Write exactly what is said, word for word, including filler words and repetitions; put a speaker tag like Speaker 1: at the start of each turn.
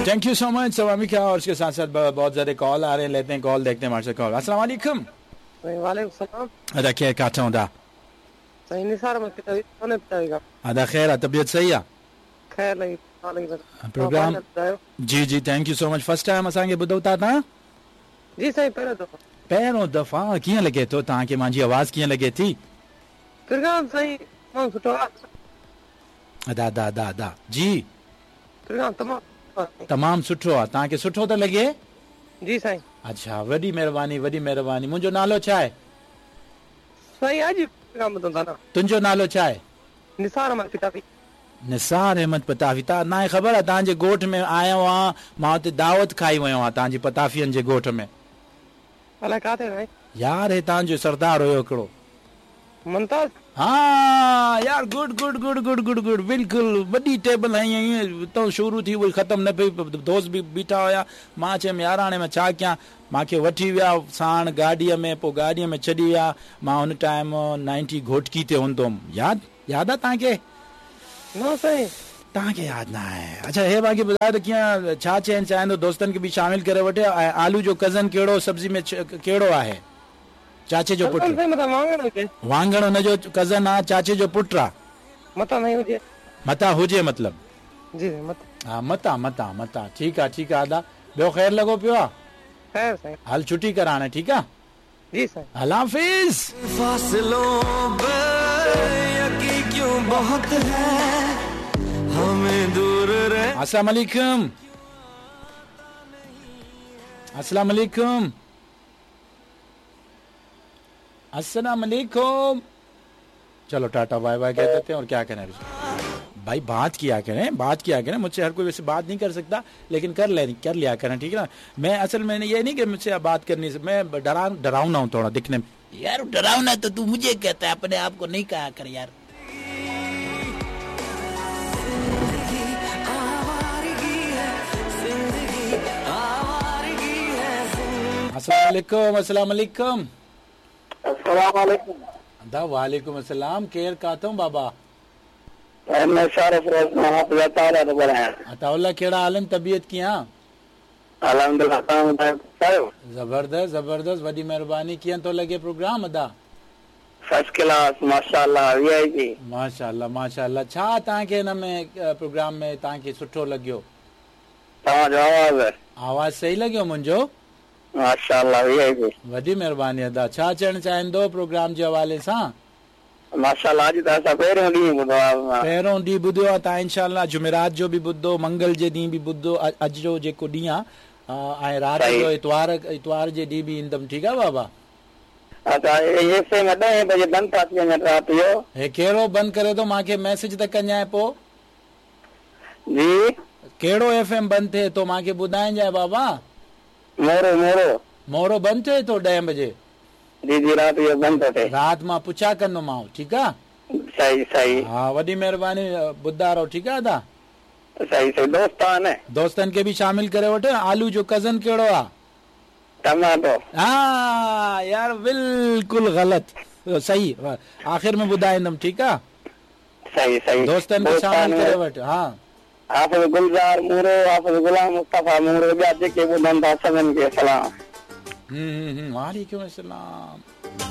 Speaker 1: Thank you so much सवामिका। और उसके साथ साथ बहुत ज़्यादा कॉल आ रहे हैं, लेते हैं कॉल, देखते हैं हमारे से कॉल। अस्सलाम वालेकुम।
Speaker 2: वालेकुम सलाम।
Speaker 1: अदा खैर काटा हूँ दा।
Speaker 2: सही निसार मत पिता।
Speaker 1: अदा खैर, तबीयत सही है?
Speaker 2: खैर लगी
Speaker 1: प्रोग्राम। जी जी thank you so much. First time असांखे ॿुधो था तव्हां?
Speaker 2: जी साईं पहिरियों दफ़ो।
Speaker 1: पहिरियों दफ़ा। कीअं लॻे थो तव्हांखे मुंहिंजी आवाज़, कीअं लॻे थी
Speaker 2: प्रोग्राम? साईं तमामु सुठो आहे।
Speaker 1: अदा अदा अदा अदा जी
Speaker 2: प्रोग्राम तमामु
Speaker 1: तमामु सुठो आहे। तव्हांखे सुठो थो लॻे?
Speaker 2: जी साईं।
Speaker 1: अच्छा वॾी महिरबानी, वॾी महिरबानी। मुंहिंजो नालो छा आहे?
Speaker 2: साईं अॼु प्रोग्राम ॿुधो था न।
Speaker 1: तुंहिंजो नालो छा आहे?
Speaker 2: निसार अहमद पताफ़ी।
Speaker 1: निसार अहमद पताफ़ी। तव्हां ना ख़बर आहे तव्हांजे ॻोठ में आयो आहियां, मां हुते दावत खाई वियो आहियां तव्हांजी पताफ़ियनि जे ॻोठ में।
Speaker 2: अलाए किथे साईं?
Speaker 1: यार हे तव्हांजो सरदार हुयो हिकिड़ो
Speaker 2: मुमताज़।
Speaker 1: हा यार good good good good good good बिल्कुलु। वॾी टेबल हई हुतां शुरू थी वई ख़तमु न पई, दोस्त बि बीठा हुया। मां चयुमि यार हाणे मां छा कयां, मूंखे वठी विया साण गाॾीअ में, पोइ गाॾीअ में छॾी विया। मां हुन टाइम नाइंटी घोटकी ते हूंदो हुउमि। यादि यादि आहे तव्हांखे?
Speaker 2: न साईं
Speaker 1: तव्हांखे यादि न आहे। अच्छा हे मूंखे ॿुधायो त कीअं छा चवणु चाहींदो, दोस्तनि खे बि शामिल करे वठे। ऐं आलू जो कज़न कहिड़ो सब्ज़ी में कहिड़ो आहे? चाचे जो पुट। वांगण हुनजो कज़न आहे, चाचे जो पुट आहे।
Speaker 2: मता नहीं हुजे,
Speaker 1: मता हुजे मतलब।
Speaker 2: जी मता।
Speaker 1: हा मता मता मता। ठीकु आहे ठीकु आहे अदा। ॿियो ख़ैर लॻो पियो आहे?
Speaker 2: ख़ैर साईं।
Speaker 1: हल छुट्टी कर हाणे, ठीकु आहे?
Speaker 2: जी साईं।
Speaker 1: अल्लाह हाफ़िज़।
Speaker 3: फासलों पे यकीन क्यों बहुत है, हमें दूर रह।
Speaker 1: अस्सलाम वालेकुम। अस्सलाम वालेकुम। अस्सलाम वालेकुम। चलो टाटा बाय बाय कह देते हैं और क्या करें भाई, बात किया करें, बात किया करें। मुझसे हर कोई वैसे बात नहीं कर सकता, लेकिन कर ले कर लिया करें, ठीक है ना। मैं असल में ये नहीं कि मुझसे बात करनी, मैं डरा डरावना हूँ थोड़ा दिखने में।
Speaker 4: यार डरावना तो तू मुझे कहता है, अपने आप को नहीं कहा कर यार।
Speaker 1: अस्सलाम वालेकुम। अस्सलाम वालेकुम।
Speaker 5: अस्सलाम वालेकुम।
Speaker 1: अदा वालेकुम अस्सलाम। केर काथूं बाबा? अताउल्ला कहिड़ा हाल आहिनि, तबीयत कीअं?
Speaker 5: अल्हम्दुलिल्लाह।
Speaker 1: ज़बरदस्त ज़बरदस्त, वॾी महिरबानी। कीअं थो लॻे प्रोग्राम अदा?
Speaker 5: फर्स्ट क्लास माशाअल्लाह, वीआईपी
Speaker 1: माशाअल्लाह माशाअल्लाह। छा तव्हांखे हिन में प्रोग्राम में तव्हांखे सुठो लॻियो?
Speaker 5: तव्हांजो आवाज़
Speaker 1: आवाज़ सही लॻियो मुंहिंजो?
Speaker 5: माशाअल्लाह वीआईपी।
Speaker 1: वॾी महिरबानी अदा। छा चवणु चाहींदो प्रोग्राम जे हवाले सां?
Speaker 5: माशाअल्लाह अॼु त असां पहिरियों ॾींहुं ॿुधो आहे।
Speaker 1: पहिरियों ॾींहुं ॿुधो आहे तव्हां। इंशाअल्लाह जुमेरात जो बि ॿुधो, मंगल जे ॾींहुं बि ॿुधो, अॼु जो जेको ॾींहुं आहे ऐं राति जो इतवार इतवार जे ॾींहुं बि ईंदमि, ठीकु आहे बाबा?
Speaker 5: अच्छा एफ एम ॾहें बजे बंदि था थी वञनि राति जो।
Speaker 1: हे कहिड़ो बंदि करे थो? मूंखे मैसेज त कजांइ पोइ।
Speaker 5: जी
Speaker 1: कहिड़ो एफ एम बंदि थिए थो मूंखे ॿुधाइजांइ बाबा?
Speaker 5: मोरो मोरो
Speaker 1: मोरो बंदि थिए थो ॾहें बजे?
Speaker 5: जी जी राति जो बंदि थो थिए।
Speaker 1: राति मां पुछा कंदोमांव, ठीकु आहे?
Speaker 5: सही सही।
Speaker 1: हा वॾी महिरबानी, ॿुधा रहो, ठीकु आहे अदा?
Speaker 5: सही सही। दोस्त आहिनि?
Speaker 1: दोस्तनि खे बि शामिल करे वठो। आलू जो कज़न कहिड़ो आहे?
Speaker 5: टमाटो।
Speaker 1: हा यार बिल्कुलु ग़लति, सही आख़िर में ॿुधाईंदमि, ठीकु आहे?
Speaker 5: सही सही।
Speaker 1: दोस्तनि खे शामिल करे वठो। हा
Speaker 5: हाफ़िज़ गुलज़ार मूरो, हाफ़िज़ ग़ुलाम मुस्तफ़ा मूरो, ॿिया जेके ॿुधनि था सभिनि खे सलाम।
Speaker 1: हम्म हम्म वालेकुम अस्सलाम।